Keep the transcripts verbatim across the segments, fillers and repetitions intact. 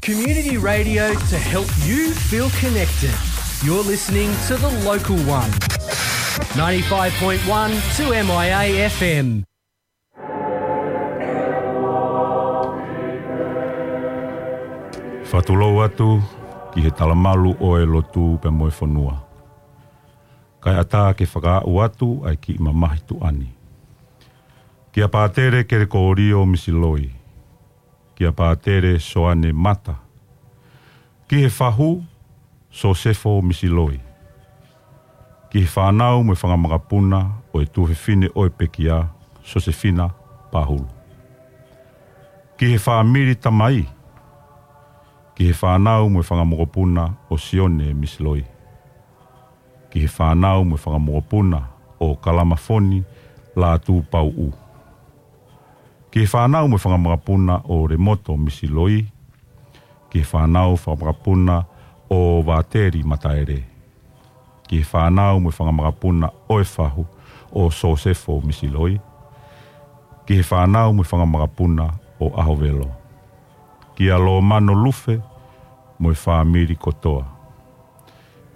Community radio to help you feel connected. You're listening to The Local One. Ninety-five point one two M I A F M. Fakatulou atu ki he talamalu ʻo e lotu pea mo e fonua. Kae ʻatā ke fakaaʻu atu ʻa e kiʻi mamahi tuʻa ni. Kia Pātele Kelekōlio Misiloi. Kia Pātele Soane Mata. Ki he fahu, Sosefo Misiloi. Ki he fānau mo e fanga makapuna ʻo e tuofefine ʻo e pekia, Sosefina Pahulu. Ki he fāmili tamai. Ki he fānau mo e fanga mokopuna ʻo Sione Misiloi. Ki he fānau mo e fanga mokopuna ʻo Kalamafoni Lātūpauʻu. Ki he fānau mo e fanga makapuna ʻo Lemoto Misiloi. Ki he fānau fanga makapuna ʻo Vāteli Mataele. Ki he fānau mo e fanga makapuna ʻo e fahu ʻo Sosefo Misiloi. Ki he fānau mo e fanga makapuna ʻo ʻAhovelo. Kia Lomano Lufe mo e fāmili kotoa.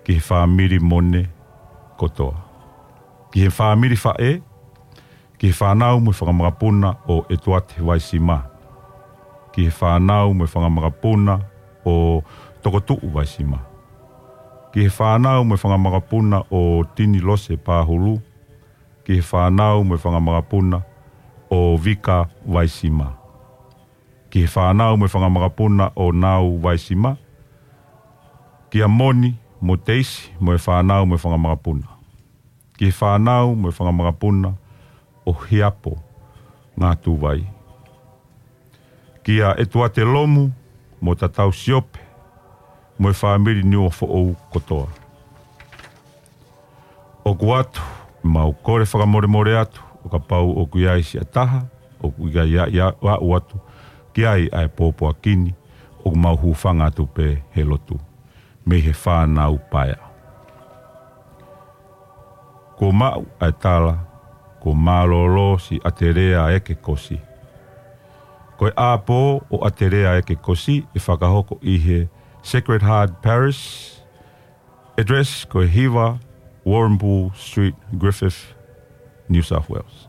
Ki he fāmili Mone kotoa. Ki he fāmili faʻē, ki he fānau mo e fanga makapuna ʻo ʻEtuate Vaisima. Ki he fānau mo e fanga makapuna ʻo Tokotuʻu Vaisima. Ki he fānau mo e fanga makapuna ʻo Tini Lose Pahulu. Ki he fānau mo e fanga makapuna ʻo Vika Vaisima. Ki he fānau mo e fanga makapuna ʻo Nau Vaisima. Kia Moni mo Teisi mo e fānau mo e fanga makapuna. Ki he fānau mo e fanga makapuna ʻo Hiapo Ngātūvai. Kia ʻEtuate Lomu mo Tatau Siope mo e fāmili Niuafoʻou kotoa. ʻOku ʻoatu, mau kole fakamolemole atu, ʻo kapau ʻoku ʻi ai siʻa taha ʻoku ʻikai aʻu atu ki ai ʻa e pōpoaki ni, ʻoku mau hūfanga atu pē he lotu mei he fānau paea. Kuo maʻu ʻa e tala, kuo mālōlō siʻi ʻAtelea ʻEkekosi. Ko e ʻāpō ʻo ʻAtelea ʻEkekosi ʻe fakahoko ʻi he Sacred Heart Parish, address ko e hiva Warrnambool Street, Griffith, New South Wales.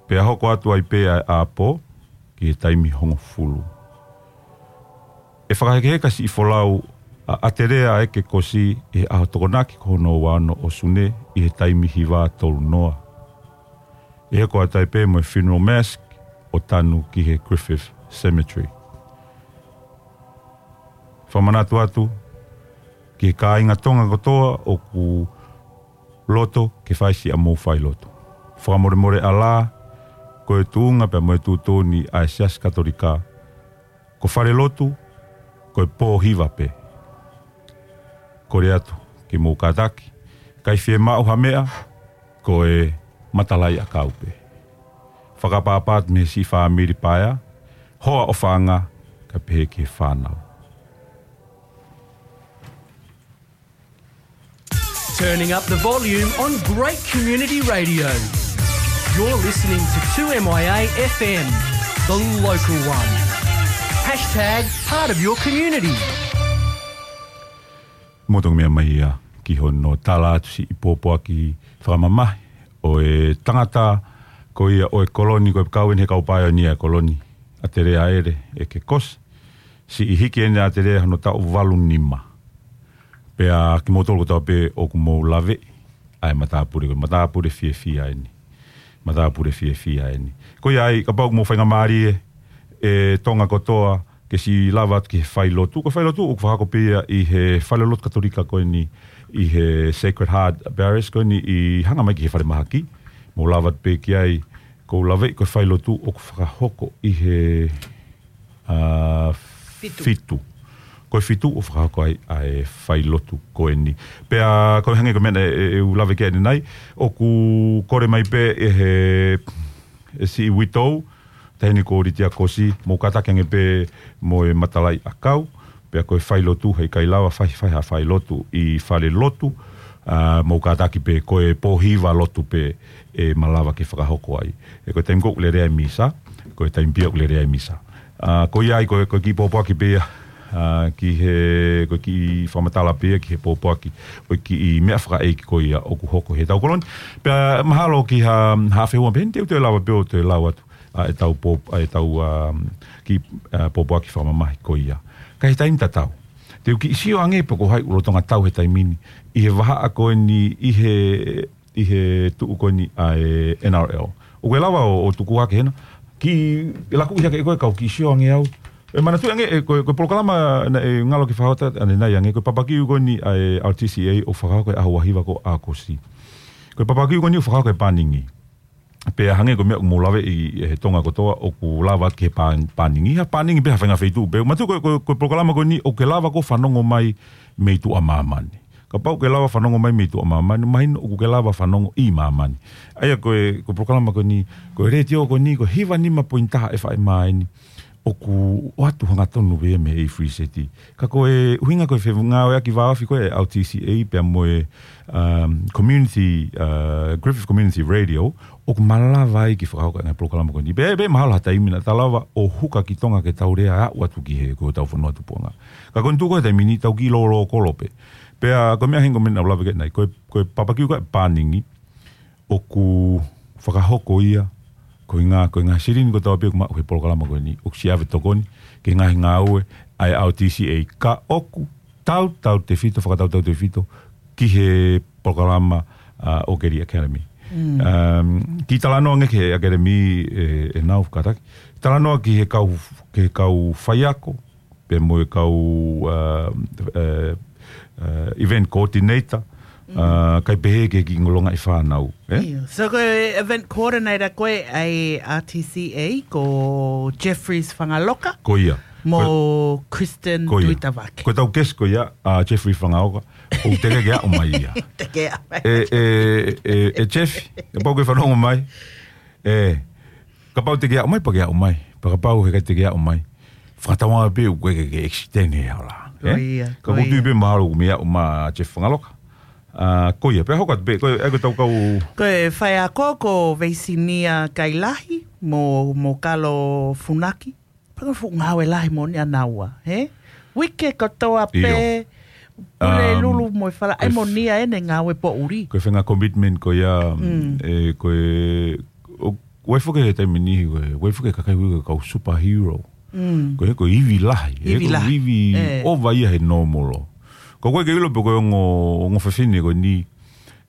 Pea hoko atu ai pē ʻa e ʻāpō ki he taimi hongofulu. ʻE fakahekeheka siʻi folau ʻa ʻAtelea ʻEkekosi ʻi he ʻaho Tokonaki ko hono ua ono ʻo Sune ʻi he taimi hiva tolu noa. ʻE hoko atu ai pē mo e funeral mass ʻo tanu ki he Griffith Cemetery. Fakamanatu atu ki he kāinga Tonga kotoa ʻoku loto ke fai siʻa mou failotu. Fakamolemole ʻalā, ko e tuʻunga pea mo e tuʻutuʻuni ʻa e Siasi Katolika, ko falelotu ko e pō hiva pē. Kole atu ke mou kātaki, ʻikai fiemaʻu ha meʻa, ko e matalaʻiʻakau pē. Fakapapātu mei he siʻi fāmili paea, hoa ʻofaʻanga, kae pehē ki he fānau. Turning up the volume on great community radio. You're listening to two M I A F M, the local one. Hashtag part of your community. Mou toki meʻa mai ia ki hono tala atu siʻi pōpoaki fakamamahi ʻo e tangata ko ia ʻo e koloni, ko e kau eni he kau paionia e koloni, ʻAtelea ʻEle ʻEkekosi. Siʻi hiki eni ʻa ʻAtelea hono taʻu valu nima. Pea kimoutolu kotoa pē ʻoku mou laveʻi ʻa e matāpule, ko e matāpule fiefia eni. Matāpule fiefia eni. Ko ia ai, kapau ʻoku mou faingamālie ʻe Tonga kotoa ke siʻi lava atu ki he failotu. Ko e failotu ʻoku fakahoko pē ia ʻi he falelotu Katolika ko eni ʻi he Sacred Heart Parish ko eni ʻi hanga mai ki he falemahaki. Mou lava atu pē ki ai, ʻoku ou laveʻi ko e failotu ʻoku fakahoko ʻi he, ā, fitu. Fitu. Ko e fitu ʻoku fakahoko ai ʻa e failotu ko eni. Pea ko e hangē ko e meʻa ʻe, ʻe, ʻe u lave ki ai ʻanenai, ʻoku kole mai pē ʻe he, ʻe siʻi uitou, taʻahine ko Litia Kosi, mou kātaki ange pē mo e matalaʻiʻakau, pea ko e failotu heʻikai lava fai, fai ha failotu ʻi falelotu, ā, mou kātaki pē ko e pō hiva lotu pē ʻe malava ke fakahoko ai. ʻE ko e taimi ko ē ʻoku lelea e misa, Ko e taimi pē ia ʻoku lele ai misa. ʻA, ko ia ai ko, ko e kiʻi pōpoaki pē ia, ʻa, ki he, ko e kiʻi fakamatala pē ia ki he pōpoaki, ko e kiʻi meʻa fakaʻeiki ko ia ʻoku hoko he tau koloni. Pea mahalo ki ha, ha fehuʻi pē, te u toe lava pē ʻo toe lau atu, ʻa, ʻetau pō-, ʻa, ʻetau, ʻa, kiʻi, ʻa, pōpoaki fakamamahi ko ia. Ka he taimi tatau, te u kiʻi sio ange pe ko hai ʻoku lolotonga tau he taimi ni, ʻi he vahaʻa ko eni, ʻi he ʻi he tuʻu ko eni ʻa e N R L. ʻOku ke lava ʻo, ʻo tuku hake hena. Kiʻi laku ʻi hake ʻe koe kau kiʻi sio ange au. ʻE manatuʻi ange ʻe ko, ko e polokalama naʻe ngalo ke fakahoko atu ʻanenai ange. Ko e papakiu ko eni ʻa e R T C A ʻoku fakahoko he ʻaho ua hiva ko ʻAokosi. Ko e papakiu ko eni ʻoku fakahoko he pāningi. Pea hangē ko e meʻa ʻoku mou laveʻi ʻe he Tonga kotoa ʻoku lava ki he pā-, pāningi. Ha pāningi pē ha faʻahinga feituʻu pē. Manatuʻi ko, ko, ko e polokalama ko eni ʻoku ke lava ʻo fanongo mai mei tuʻa māmani. Kapau ʻoku ke lava fanongo mai mei tuʻa māmani, mahino ʻoku ke lava fanongo ʻi māmani. ʻA ia ko e, ko e polokalama ko eni, ko e letiō ko eni, ko e hiva nima poini taha F M eni, ʻoku ʻoatu hangatonu pē mei he free set. Ka ko e ʻuhinga ko e fengāueʻaki vāofi ko e R T C A pea mo e, um, community, uh, Griffith Community Radio, ʻoku malava ai ke fakahoko e ngaahi polokalama ko eni. Pea, pea mahalo ha taimi naʻa ta lava ʻo huka ki Tonga ke tau lea aʻu atu ki he, ko hotau fonua tupuʻanga. Ka ko eni tuku he taimi ni tau kiʻi lōlō kolo pē. Pea ko e meʻa heni ko e meʻa naʻa ku lave ki ai ʻanenai, ko e, ko e papakiu ko e pāningi, ʻoku fakahoko ia, ko e ngaahi, ko e ngaahi silini kotoa pē ʻoku maʻu he polokalama ko eni, ʻoku siʻi ʻave tokoni, ki he ngaahi ngāue, ʻa e R T C A ka ʻoku tautautefito, fakatautautefito, ki he polokalama, ʻa, ʻo Keli Academy. Mm. Um, kiʻi talanoa ange ki he Academy, ʻe, ʻe nau fakataki. Talanoa ki he kau, ki he kau faiako, pea mo e kau, uh, uh, uh, event coordinator, uh, kae pehē ki he kiʻi ngolongaʻi fānau, ē? ʻIo. So ko e event coordinator ko ē ʻa e R T C A, ko Jeffries Fangaloka. Ko ia. Mo Kristen Tuitavake. Ko e tau guest ko ia, ʻa Jeffries Fangaloka. ʻOku teʻeki ke aʻu mai ia. Teʻeki ke aʻu mai. ʻE, ʻe, ʻe, ʻe Jeff, kapau ʻoku ke fanongo mai. ʻE, kapau teʻeki aʻu mai, pea ke aʻu mai. Pea kapau heʻikai teʻeki aʻu mai, fakatauange pē ʻoku ʻikai ke, ke extend he hala. Ko ia, ko ia. Ka ʻoku ou tui pē mahalo ʻoku mei aʻu mai ʻa Jeff Fangaloka. ʻA, ko ia, pea hoko atu pē, ko e, ʻa e ko e tau kau. Ko e faiako ko Veisinia Kailahi, mo, mo Kalo Funaki. Pea ko e fuʻu ngāue lahi moʻoni ʻanaua, hē? Uike kotoa pē, ʻio. Pule, um, lulu mo e fala, ʻai moʻoni ia ʻene ngāue poʻuli. Ko e fenga commitment ko ia, mm, ʻe, ko e, ʻo, ʻoku ʻi ai foki he taimi ni, ʻoku ʻi ai foki e kakai ui ko e kau superhero. Mm. Ko e, ko e ivi lahi, ē, ivi lahi. Ko e ivi ʻova ia he normal. Ko koe ke ʻilo pē ko e ongo, ongo fefine ko eni,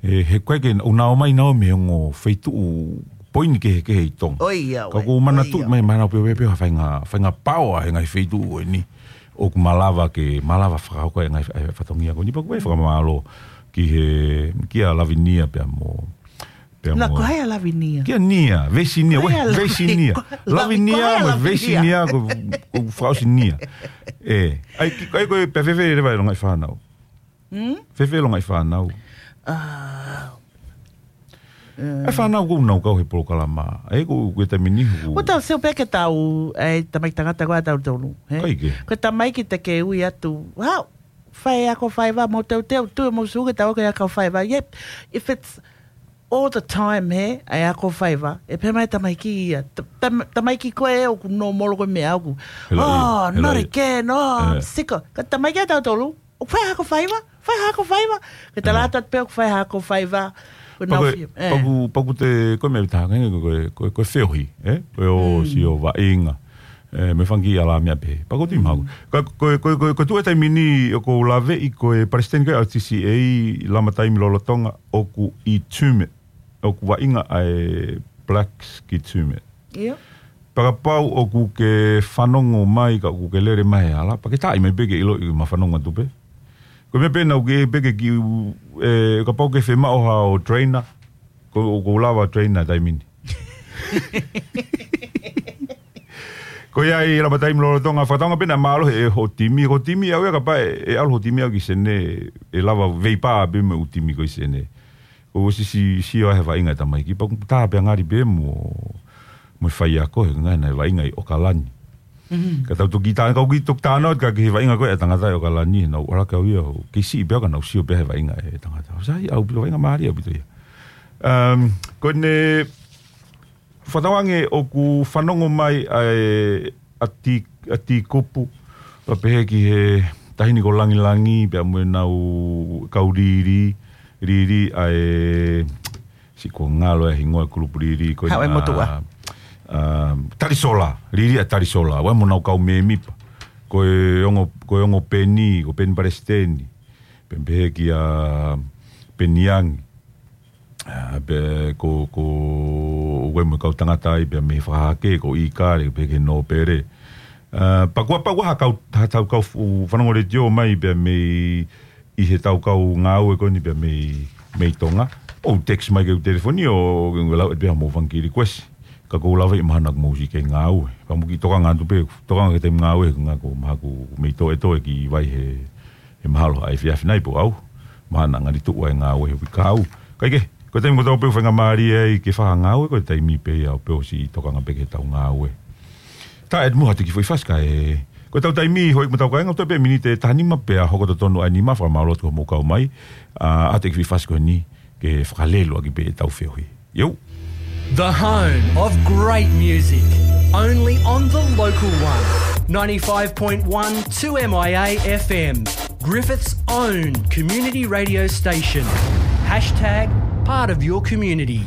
ʻe, he ʻikai ke ʻunau mai naua mei he ongo feituʻu poini kehekehe ʻi Tonga. ʻOi ia, ka ʻoku ou manatuʻi mai, manatuʻi pē, pē, pē, ha faʻahinga, faʻahinga paoa he ngaahi feituʻu ko eni. ʻOku malava ke, malava fakahoko e ngaahi, e fatongia ko eni, pea ʻoku ou fakamālō ki he, kia Lavinia pea mo, pea mo. Ko hai ʻa Lavinia? Kia Nia, Veisinia, ko hai ʻa Lavinia? Veisinia. Ko hai ʻa Lavinia, Lavinia, ko hai ʻa mo Lavinia? Veisinia, ko, ko fakaʻosi Nia. ʻE, ʻai, ki, ʻai ko e pea fēfē leva e longaʻi fānau. Hmm? Fēfē longaʻi fānau. Ah, ʻa e fānau ʻoku nau kau he polokalama. ʻE, ko, ko e taimi ni ʻoku. Ko tau sio pē ke tau, ʻa e tamaiki tangata ko ē ʻa tautolu, hē? ʻIkai ke. Ko e tamaiki te ke ui atu. Wow, faiako faiva, mo teuteu, tui mo su ke tau ke ako faiva. Yep, if it's all the time, hē, ʻa e ako faiva, ʻe pehē mai tamaiki ia. Ta-, tam-, tamaiki ko ē ʻoku normal ko e meʻa ʻoku. He laʻi, oh, he laʻi. Not again, oh, I'm sick. Ka tamaiki ʻa tautolu, ʻoku faiako faiva, faiako faiva. Ke tala atu pē ʻoku faiako faiva. Ko e nau fia, ʻe. Paku, paku te, ko e meʻa ʻe taha, ko e, ko e, ko e feohi, ē? Ko e ʻosi ʻo vaʻinga. ʻE, mo e fanga kiʻi ʻalā meʻa pē. Paku tui maʻu. Ka ko e, ko e, ko e, ko e tuʻu he taimi ni ʻoku ou laveʻi ko e palesiteni ko e R T C A Lama Taimi Lolotonga ʻoku ʻi Tumut. ʻOku vaʻinga ʻa e Blacks ki Tumut. ʻIo. Pea kapau ʻoku ke fanongo mai, ka ʻoku ke lele mai he hala, pea ke taaʻi mai pē ke ʻiloʻi ma fanongo atu pē. Ko e meʻa pē naʻa ku pehē ke kiʻi, ʻe, kapau ʻoku ke fiemaʻu haʻo trainer, ko, ʻoku ou lava trainer taimi ni. Ko ia ai Lama Taimi Lolotonga, fakatauange pē naʻa mālohi ʻe hoʻo timi, ko e timi ʻaʻau ia kapau ʻe, ʻe ʻalu hoʻo timi ʻaʻau ki Senē, ʻe lava veipā pē mo e ʻū timi ko ē ʻi Senē. ʻOku ou sio, sio ai he vaʻinga e tamaiki, pea ʻoku tā pē ʻa ngali pē mo, mo e faiako he ngaahi naʻe vaʻinga ʻi ʻOkalani. Mhm. Ka tau toki tā, ka ʻoku ou toki tānaki atu ki he vaʻinga ko ē ʻa e tangata ʻi ʻOkalani, naʻa ku ʻalu ʻo kau ia, ʻo kei siʻi pē au ka naʻa ku sio pē he vaʻinga e tangata. ʻOku sai, ʻaupito vaʻinga mālie ʻaupito ia. Um, ko ʻene, Fakatauange ʻoku fanongo mai ʻa e ʻati, ʻati kupu, ʻo pehē ki he taʻahine ko Langilangi, pea mo ʻenau kau Lili, Lili ʻa e, siʻi kuo ngalo e hingoa e kulupu Lili, ko ena, Haʻu e motuʻa. ʻA, Talisola, Lili ʻa Talisola, ʻa ia mo ʻenau kau mēmipa. Ko e ongo, ko e ongo Peni, ko Peni Palesiteni, pea pehē kia Peni Angi. ʻA, pea ko, ko, ʻoku ʻi ai mo e kau tangata ai, pea mei Fakahake, ko ʻIkale, pea ki he Nōpele. ʻA, pea kuo pau ha kau, ha tau kau fu-, fanongo letiō mai, pea mei ʻi he tau kau ngāue ko eni pea mei, mei Tonga. ʻO text mai ki heʻeku telefoni ʻo, ʻo lau atu pē haʻamou fanga kiʻi request. Ka ʻoku ou lava ʻi mahalo naʻa mou siʻi kei ngāue. Pea mou kiʻi tokanga atu pē, tokanga ki he taimi ngāue, ko e ngaahi ko mahalo ʻoku mei toʻe toe ki vai he, he mahalo ʻa e efiafi nai pe ʻaho. Mahalo naʻa ngali tuʻu ai e ngāue he uike kahaʻu. Kae kehe, ko e taimi kotoa pē ʻoku faingamālie ai ke fai ha ngāue, ko e taimi pē ia ʻoku pau ke siʻi tokanga pē ki he tau ngāue. Tā ʻe muha te u kiʻi foʻi fasi kae, ko e tau taimi hoi mo tau kāinga, toe pē miniti ʻe tahanima pea hoko totonu ʻa e nima, fakamālō atu ki hoʻomou kau mai, ʻa, ʻoatu e kiʻi foʻi fasi ko eni, ke fakalelu ʻaki pē ʻetau feohi. Iou. The home of great music, only on the local one. Ninety-five point one two M I A F M, Griffith's own community radio station. Hashtag part of your community.